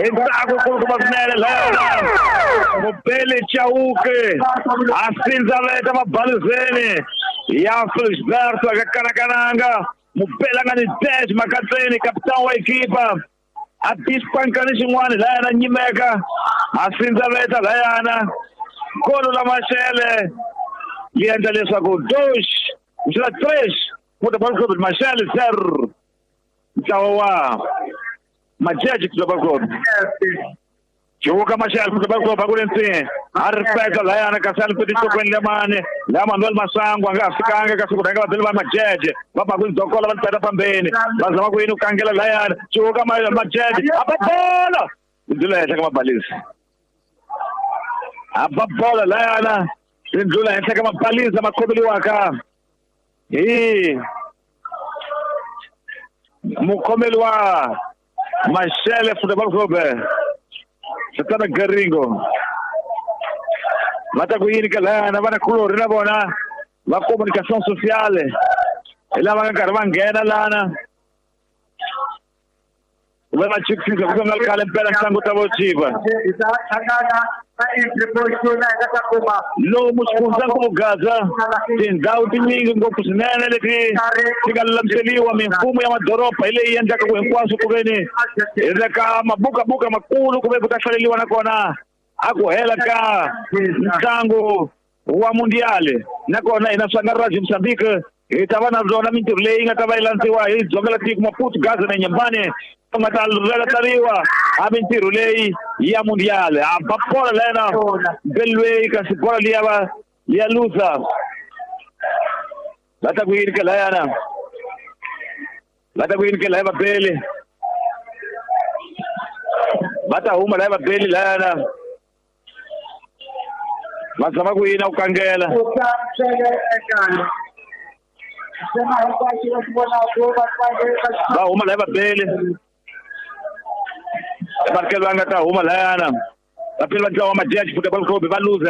Hi ntsako kulukumba swinene layana Mubeli Chauke a sindzaveta mabalizeni ya Felisberto aka kanakananga. Mubeli a nga ni dash makatseni kapitani wa ekipa a tispankani xin'wana layana nyimeka a sindzaveta layana golo la Mashele yi endla leswaku dois kusela 3 Futebol Clube Mashele 0 ntlawa wa Majeje Futebol Clube. Chiuka Mashele Futebol Clube akule ntsini a ri feka layana kasi a ni peti lemani la Manuel Masango a nga ha fikanga kasi ku rhanga vabeli va Majeje va ba ku dokola va ni peta pambeni va zama ku yini ku kangela layana Chiuka Majeje a ba bola ndlula henhla ka mabalisi a ba bola layana ri ndlula henhla ka mabalisi lama khomeliwaka hi mukhomeli wa Mashele Futebol Clube Satana Garingo va ta ku yini ka layana va na kulorhi na vona va communication sociale hi lava nga karhi va nghena lana va va chikisisa ku nga khale mpela ntlangu ta vo chipa lomu xifundzankulu Gaza tindhawu tinyingi ngopfu swinene leti ti nga lulamiseriwa mimfumo ya madoroba hi leyi endlaka ku hinkwaswo ku ve ni hi le ka mabukabuka makulu ku ve ku ta hlaleriwa nakona a ku hela ka ntlangu wa mundiale nakona hina Swangaraj Mozambique hi ta va na byona mintirho leyi nga ta va yi landziwa hi dzonga la tiko Maputo Gaza na Nyambane ku nga ta rheletariwa a mintirho leyi ya mundiale a ba bola lena belweyi kasi bola liya va liya luza va ta ku yini ke layana va ta ku yini ke laya vabeli va ta huma laya vabeli layana va zama ku yini ku kangela va huma laya vabeli varikeli va nga ta huma layana vapeli va ntlawa wa Majeje Futebol Clube va luza.